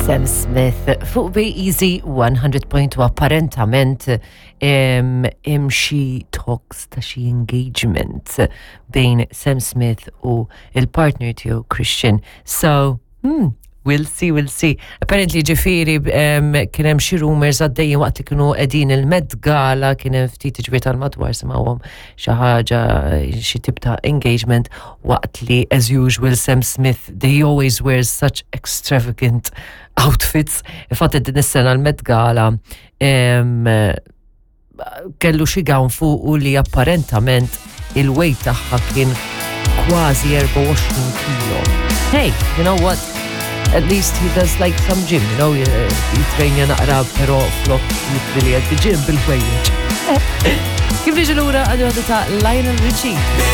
Sam Smith fuq Bay Easy 100.2. Apparentament hemm xi talks ta' xi engagement bejn Sam Smith u il-partner tiegħu Christian. So, we'll see, we'll see. Apparently, ġifieri kien hemm xi rumors għaddejjin waqt li kienu qegħdin il-Met Gala, kien hemm ftit ġbir tal-madwar simgħuhom xi ħaġa, xi tip ta' engagement, waqt li, as usual, Sam Smith, they always wear such extravagant outfits. Infatti din is-sena l-Met Gala kellu xi gown fuq li apparentament il-weight tagħha kien kważi 24 kilo. Hey, you know what? At least he does like some gym, jitrejnja naqra, pero flok jitri li għed gym bil-ħwejjeġ. Kif niġi lura għadu ta' Lionel Richie.